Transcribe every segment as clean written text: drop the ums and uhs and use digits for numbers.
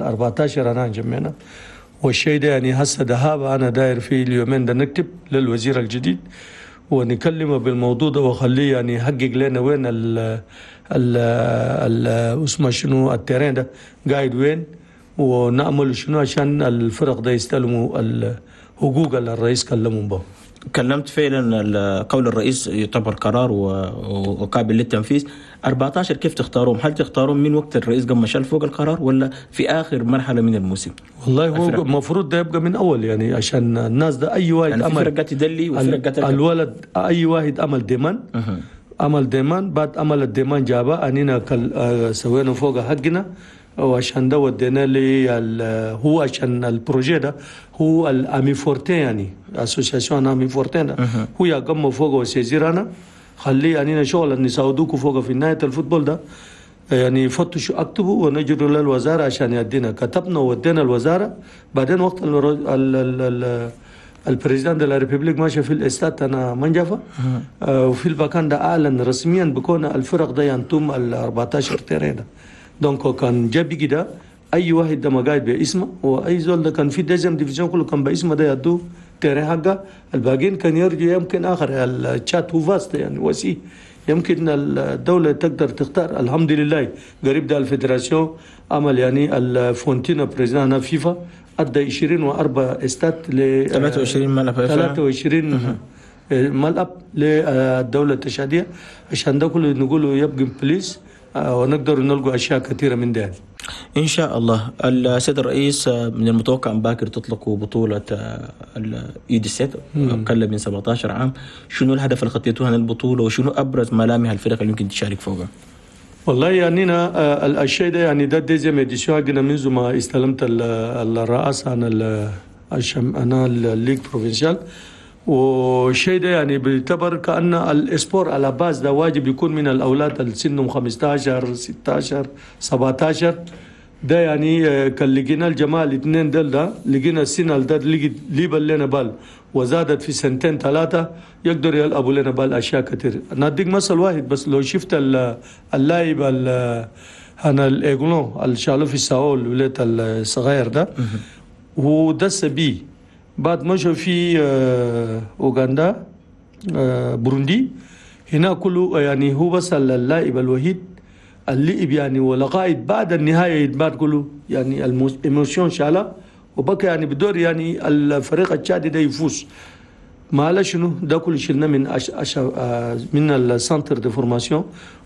14 انا انجمينا. والشيء ده يعني هسه ذهاب انا داير في اليومين ده نكتب للوزير الجديد ونكلمه بالموضوع ده وخليه يعني يحقق لنا وين ال ال ال اسمه شنو ال terrain ده قاعد وين، ونعمل شنو عشان الفرق ده يستلموا الحقوق اللي الرئيس كلمهم به. كلمت فعلا قول الرئيس يعتبر قرار وقابل للتنفيذ. 14 كيف تختارهم؟ هل تختارون من وقت الرئيس قام شال فوق القرار ولا في اخر مرحلة من الموسم؟ والله هو المفروض ده يبقى من اول، يعني عشان الناس ده اي واحد يعني امل في فرقات تدلي وفرقات الولد اي واحد امل demande عمل demande، بعد عمل ال demande جابه اننا سوينا فوق حقنا، وعشان ده ودينا لي هو عشان ال projet ده هو الامي فورتين، يعني association امي فورتين ده هو يقوم فوق وسيزير انا خليه يعني شغل نساعدوكوا فوق في نهاية ال football ده، يعني فتشوا اكتبوا ونجروا للوزارة عشان يدينا. كتبنا وودينا الوزارة. بعدين وقت ال président de la République ماشي في الاستاد انا منجفه وفي البكان ده اعلن رسميا بكون الفرق ده ينتم ال 14 terrain ده. donc كان جاب كده اي واحد ده ما قاعد باسمه، واي زول ده كان في deuxième division كله كان باسمه ده يدو terrain حقه، الباقيين كان يرجو يمكن اخر التشاد هو vaste يعني وسيع، يمكن الدولة تقدر تختار. الحمد لله قريب ده ال fédération عمل يعني الفونتينا président فيفا ادى 24 استاد ل 23 ملعب 23 ملعب للدولة التشاديه، عشان ده كله نقوله يبقى بليس ونقدر نلقوا اشياء كثيرة من ده ان شاء الله. السيد الرئيس، من المتوقع ان باكر تطلقوا بطوله ال U 17 اقل من 17 عام. شنو الهدف اللي خطيتوه عن البطولة، وشنو ابرز ملامح الفرق اللي يمكن تشارك فوقها؟ والله يعني انا الشيء ده يعني ده deuxième édition حقنا منذ ما استلمت الرئاسة عن انا ال ligue provinciale. والشيء ده يعني بيعتبر كأن ال sport à la base ده واجب يكون من الأولاد اللي سنهم 15 16 17 ده، يعني كان لقينا الجماعة الاثنين دل ده لقينا السنة ده ليبل لنا بال وزادت في سنتين ثلاثة يقدر يلعبوا لنا بال أشياء كثير. نديك مثل واحد بس، لو شفت اللاعب هنا الإيغلون اللي شالوه في الساول الولاد الصغير ده هو دس بي بعد مشوا في أوغندا بروندي هنا كله، يعني هو بس اللاعب الوحيد اللي يعني ولغاية بعد النهاية بعد كله يعني ال émotion شالا وبقى يعني بدور يعني الفريق التشادي ده يفوز. ما شنو ده كله شلنا من أش أش من ال centre de formation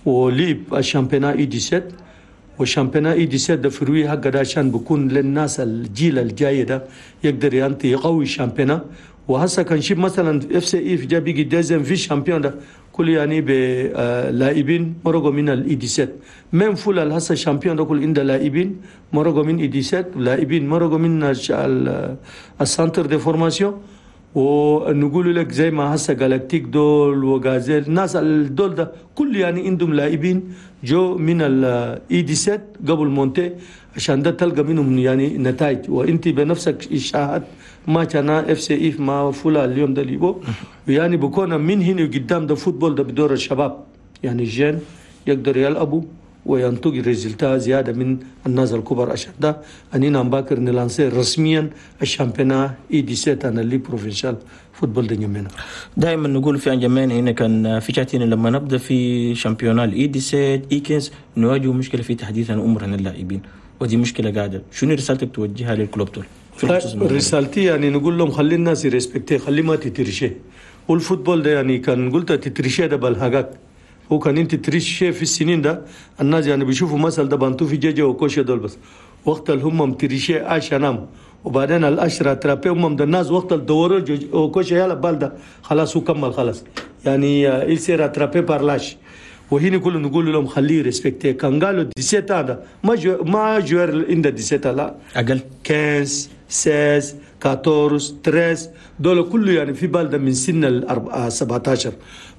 وليب ال championnat U 17، وال championnat U 17 ده فروي حق ده عشان بكون للناس الجيل الجاي ده يقدر ينتي يقوي ال championnat. وهسه كان شيب مثلا FC IF جا بيجي deuxième vice-champion ده كل يعني بلاعبين مرقوا من ال U 17، même فولا هسه champion ده كل عند لاعبين مرقوا من U 17، لاعبين مرقوا من ال centre de formation. ونقول لك زي ما هسه جالاكتيك دول وغازيل الناس الدول ده كل يعني عندهم لاعبين جو من ال U 17 قبل monter، عشان ده تلقى منهم يعني نتائج. وانت بنفسك شاهد ما كان FC IF ما فولا اليوم ده ليبو، ويعني بكون من هنا قدام ده football ده بدور الشباب، يعني ال jeunes يقدر يلعبوا وينتج résultat زيادة من الناس الكبار. عشان ده اننا نباكر ن lancer رسميا ال championnat U 17 انا ligue provinciale football de نجمينا. دائما نقول في انجمينا هنا كان في شاتين لما نبدا في championnat ال U 17 U 15 نواجه مشكلة في تحديث عمر اللاعبين، ودي مشكلة قاعدة. شنو رسالتك توجهها لل clubs دول؟ رسالتي يعني نقول لهم خلي الناس ي respecter، خلي ما ت tricher. وال football ده يعني كان قلت ت tricher ده بالحقك، هو كان انت tricher في السنين ده الناس يعني بيشوفوا مثل ده بانتو في جيجي وكوشي دول بس وقت اللي هم tricher عشان وبعدين ال l'âge rattrapé هم ده الناس وقت الدورو وكوشي يلا بال ده خلاص هو كمل خلاص يعني il s'est rattrapé par l'âge. وهنا كله نقول لهم خليه respecter. كان قالوا 17 هذا ما joueur عند 17 لا اقل 15 16 14 13 دول كله يعني في بال ده من سن ال 17.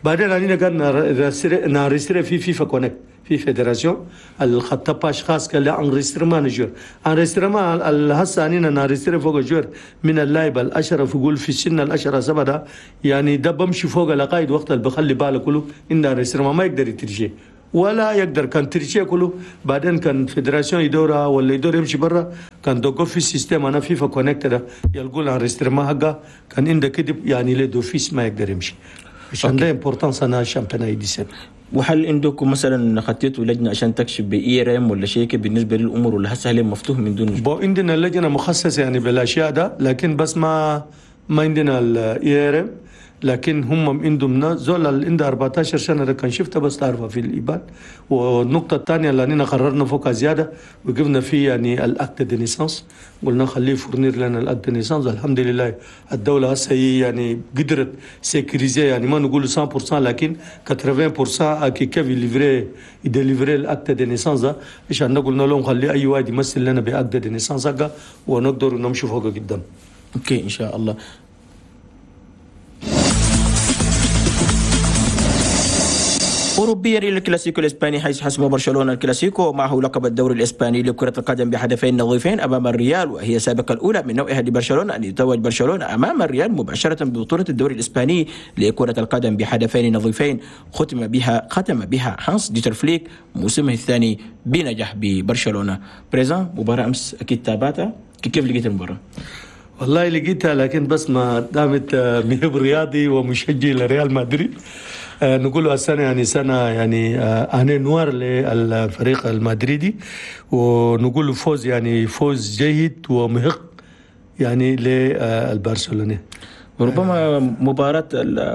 بعدين علينا قال ن enregistrer في FIFA Connect في fédération الخطة page خاص قال enregistrement joueur enregistrement هسه علينا ن enregistrer فوق joueur من اللاعب الاشرف يقول في السن الاشرة سبعة ده يعني ده بمشي فوق لغاية وقت اللي بخلي باله كله ان enregistrement ما يقدر ي tricher. ولا يقدر كان tricher كله. بعدين كان fédération يدورها ولا يدور يمشي برا، كان دوقف في ال système انا FIFA Connect ده يلقوا l'enregistrement حقه، كان عنده كذب يعني ل d'office ما يقدر يمشي. عشان ده importance انا championnat U17. وهل عندكم مثلا خطيتوا لجنة عشان تكشف ب IRM ولا شيء بالنسبة للامور، ولا هسه هل مفتوح من دون؟ bon عندنا لجنة مخصصة يعني بالاشياء ده، لكن بس ما عندنا ال IRM، لكن هم عندهم زول اللي عنده 14 سنة ده كان شفته بس تعرفه في الايبان. والنقطة الثانية اللي اننا قررنا فوقها زيادة وقفنا فيه يعني ال acte de naissance، قلنا خليه fournir لنا ال acte de naissance. الحمد لله الدولة هسه يعني قدرت sécuriser، يعني ما نقول 100% لكن 80% كيف livrer ي délivrer ال acte de naissance ده، عشان قلنا لهم خليه اي واحد يمثل لنا ب acte de naissance ونقدر نمشي فوق قدام. OK ان شاء الله. أوروبيا إلى الكلاسيكو الإسباني، حيث حسم برشلونة الكلاسيكو ومعه لقب الدوري الإسباني لكرة القدم بهدفين نظيفين أمام الريال، وهي سابقة الأولى من نوعها لبرشلونة أن يتوج برشلونة أمام الريال مباشرة ببطولة الدوري الإسباني لكرة القدم بهدفين نظيفين ختم بها هانس ديتر فليك موسمه الثاني بنجاح ببرشلونة. président، مباراة أمس أكيد تابعتها، كيف لقيت المباراة؟ والله لقيتها، لكن بس ما دامت مهب رياضي ومشجع لريال مدريد. نقول السنة يعني سنة يعني année noire للفريق المدريدي، ونقول فوز يعني فوز جيد ومحق يعني للبرشلونة. وربما مباراة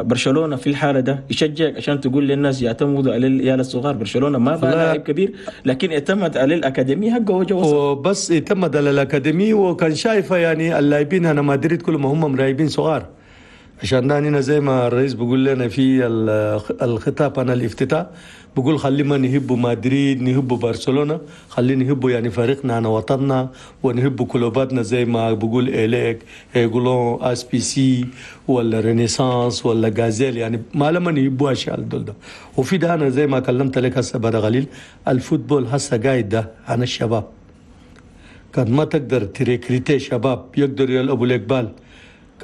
برشلونة في الحالة ده يشجعك عشان تقول للناس يعتمدوا على العيال الصغار. برشلونة ما بقى لاعب كبير، لكن اعتمد على الأكاديمية حقه وجو، وبس اعتمد على الأكاديمية، وكان شايفة يعني اللاعبين هنا مدريد كلهم هم ملاعبين صغار. عشان ده زي ما الرئيس بيقول لنا في الخطاب انا الافتتاح بقول خلينا نحبوا مدريد، نحبوا برشلونة، خلينا نحبوا يعني فريقنا انا وطننا، ونحبوا كلوباتنا زي ما بقول اليك يقولون SPC ولا Renaissance ولا Gazelle، يعني ما لما نحبوا اشياء دول ده. وفي ده انا زي ما كلمت لك هسه بعد قليل، ال football هسه قاعد ده عن الشباب، كان ما تقدر ت recruter شباب يقدر يلعبوا لك balle،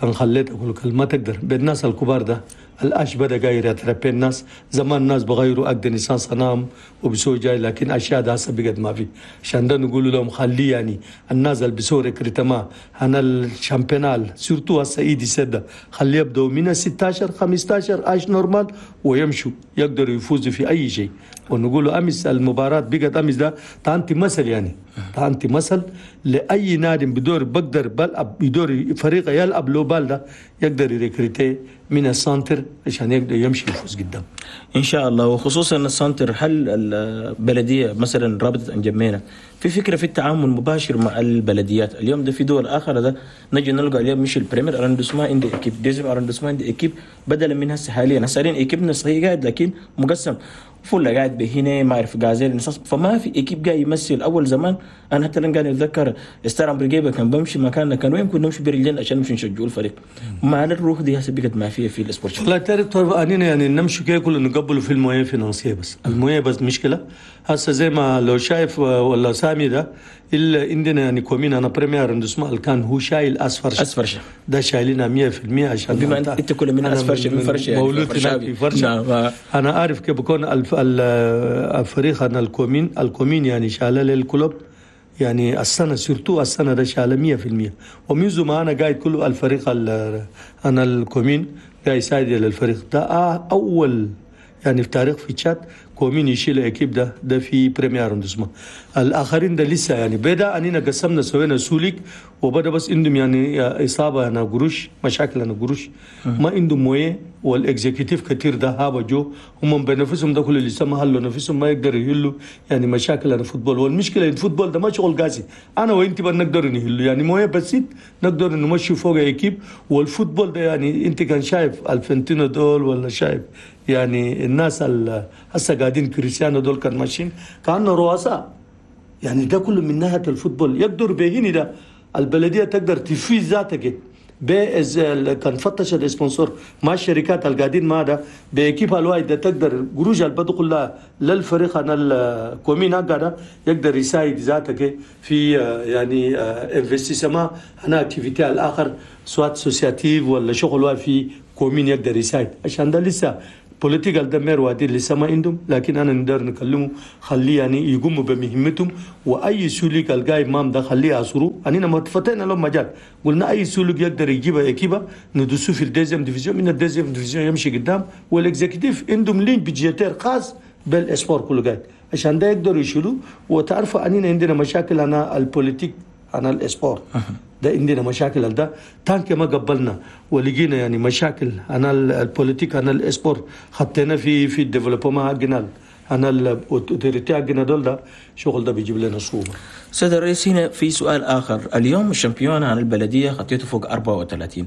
كان خليت اقول لك ما تقدر بالناس الكبار ده. ال âge بدا قاير ي rattraper الناس، زمان الناس بغيروا acte de naissance نام وبسوي جاي، لكن اشياء ده هسه بقت ما في. عشان ده نقول لهم خليه يعني الناس اللي بسوي recrutement هنا ال championnat surtout هسه U dix-sept خليه يبداوا من 16 15 âge normal ويمشوا يقدروا يفوزوا في اي شيء. ونقول امس المباراة بقت امس ده تانتي مثل، يعني تانتي مثل لاي نادي بدور بقدر بلعب بدور فريق يلعب لو balle ده يقدر ي recruter من ال centre عشان يقدر يمشي يفوز قدام ان شاء الله. وخصوصا ال centre، هل البلدية مثلا رابطه انجمينا في فكرة في التعامل مباشر مع البلديات؟ اليوم ده في دول اخرى ده نجي نلقى اليوم مش ال premier arrondissement عندي équipe، deuxième arrondissement عندي équipe، بدلا من هسه حاليا هسه حاليا équipe نا صحيح قاعد لكن مقسم، فله قاعد بهنا ما اعرف Gazelle، فما في équipe قاعد يمثل. اول زمان انا حتى قاعد اتذكر ستار بريجيبا كان بمشي مكاننا، كان وين كنا نمشي برجلين عشان نمشي نشجعوا الفريق. مع الروح دي هسه بقت ما فيها في ال sport. والله تعرف اننا يعني نمشي كي كله نقبلوا في ال moyens financiers، بس ال moyens بس مشكلة هسه زي ما لو شايف ولا سامي ده الا عندنا يعني commune انا premier arrondissement كان هو شايل اصفر ده شايلنا 100% عشان بما انت كل من اصفر من فرشه يعني مولود في فرشه. نعم. انا عارف كيف بكون الفريق انا ال commune يعني شاله لل club يعني السنة surtout السنة ده شاله 100%، ومنذ ما انا قاعد كله الفريق انا ال commune قاعد يساعد للفريق ده اول يعني في تاريخ في تشاد commune يشيل équipe ده في premier arrondissement. الاخرين ده لسه يعني بدا اننا قسمنا سوينا sous-ligue وبدا بس عندهم يعني اصابه انا قروش مشاكل انا قروش ما عندهم moyens وال exécutif كثير ده هابا جو هم بنفسهم ده كله لسه ما حلوا نفسهم ما يقدروا يحلوا يعني مشاكل انا football. والمشكلة ال football ده ما شغل قاسي انا وانت بنقدر نحلوا يعني moyens بسيط نقدر نمشي فوق équipe. وال football ده يعني انت كان شايف الفنتينو دول ولا شايف يعني الناس هسه قاعدين كريستيانو دول كان ماشيين كانوا رؤساء يعني ده كله من ناحية ال football يقدر بهني ده البلدية تقدر تفيز ذاتك كان فتش ال sponsor مع الشركات اللي قاعدين مع ده ب équipe الواحد ده تقدر قروش اللي بدخل لها للفريق انا ال commune ده يقدر يساعد ذاتك في يعني investissement انا activité الاخر soit associative ولا شغل في commune يقدر يساعد. عشان ده لسه politique ده maire وادي لسه ما عندهم، لكن انا نقدر نكلمه خليه يعني يقوموا بمهمتهم، واي sous-ligue الجاي مام ده خليه يعصروا. اننا ما فتحنا لهم مجال، قلنا اي sous-ligue يقدر يجيب équipe ندسوه في ال deuxième division، من ال deuxième division يمشي قدام. وال exécutif عندهم ligne budgétaire خاص بال sport كله قاعد عشان ده يقدروا يشيلوا. وتعرفوا اننا عندنا مشاكل انا ال politique انا ال sport ده عندنا مشاكل ده tant que ما قبلنا ولقينا يعني مشاكل انا ال politique انا ال sport خطينا في ال développement حقنا انا ال autorité حقنا دول، ده شغل ده بيجيب لنا صعوبة. سيد الرئيس، هنا في سؤال اخر. اليوم ال championnat عن البلدية خطيته فوق 34،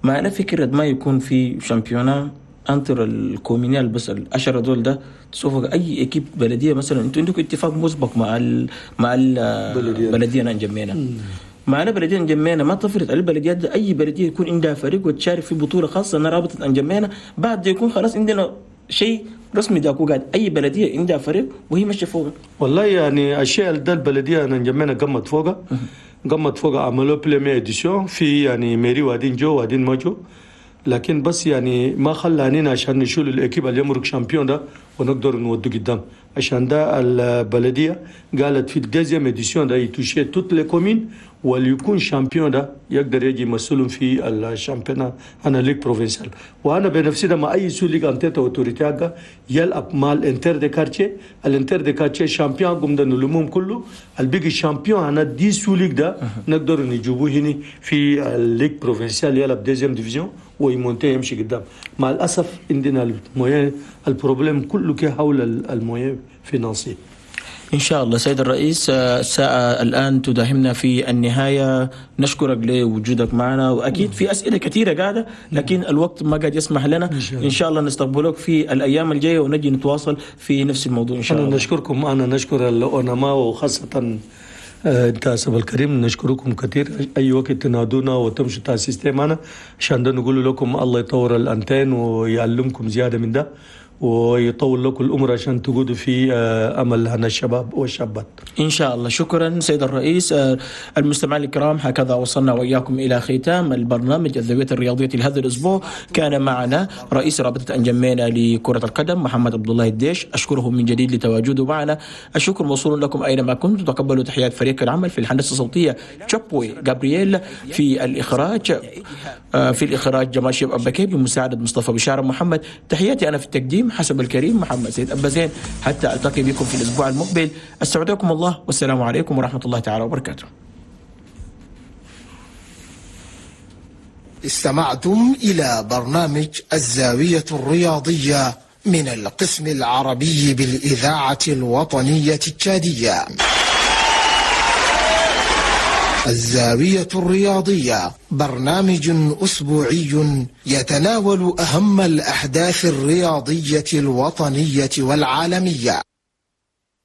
ما فكرة ما يكون في championnat entre ال communal بس العشرة دول ده تشوفوا اي équipe بلديه مثلا، انتوا عندكم اتفاق مسبق مع البلدية انجمينا، معنا بلديه انجمينا ما تفرض على البلديات ده، اي بلديه يكون عندها فريق وتشارك في بطوله خاصة انا رابطه انجمينا، بعد يكون خلاص عندنا شيء رسمي داكو قاعد اي بلديه عندها فريق وهي ماشية فوق. والله يعني الشيء ده البلدية انجمينا قمت فوقها، قمت فوق عملوا première édition في يعني mairie وادين جو وادين ما جو، لكن بس يعني ما خلانينا عشان نشيل ال équipe اللي يمرق champion ده ونقدر نودو قدام. عشان ده البلدية قالت في ال deuxième édition ده يتوشي toutes les communes، واللي يكون champion ده يقدر يجي يمثلهم في ال championnat انا ligue provinciale. وانا بنفسي ده مع اي sous-ligue en tête autorité يلعب مع ال inter de quartier، ال inter de quartier champion قوم ده نلمهم كله، البيجي champion انا dix sous-ligues ده نقدر نجيبوه هنا في ال ligue provinciale يلعب deuxième division ويمونتي يمشي قدام. مع الاسف عندنا ال moyens، ال problème كله كي حول ال moyens financiers. إن شاء الله سيد الرئيس، الساعة الآن تداهمنا في النهاية، نشكرك لوجودك معنا، وأكيد في أسئلة كثيرة قاعدة لكن الوقت ما قاعد يسمح لنا. إن شاء الله نستقبلك في الأيام الجاية ونجي نتواصل في نفس الموضوع إن شاء الله. أنا نشكركم، أنا نشكر الأونما وخاصة أنت سب الكريم، نشكركم كثير. أي وقت تنادونا وتمشوا تاع système أنا عشان ده نقول لكم الله يطور ال antenne ويعلمكم زيادة من ده ويطول لكم الأمر عشان تقودوا في أمل هنا الشباب والشابات إن شاء الله. شكرا سيد الرئيس. المستمعين الكرام، هكذا وصلنا وإياكم إلى ختام البرنامج الزاوية الرياضية لهذا الأسبوع. كان معنا رئيس رابطة أنجمينا لكرة القدم محمد عبد الله الديش، أشكره من جديد لتواجده معنا. الشكر موصول لكم أينما كنتم. تقبلوا تحيات فريق العمل في الهندسة الصوتية تشابوي جابرييل، في الإخراج جمال شيب أبكي بمساعدة مصطفى بشارة محمد. تحياتي أنا في التقديم حسب الكريم محمد سيد أبا زين. حتى ألتقي بكم في الأسبوع المقبل، أستودعكم الله والسلام عليكم ورحمة الله تعالى وبركاته. استمعتم إلى برنامج الزاوية الرياضية من القسم العربي بالإذاعة الوطنية التشادية. الزاوية الرياضية برنامج أسبوعي يتناول أهم الأحداث الرياضية الوطنية والعالمية.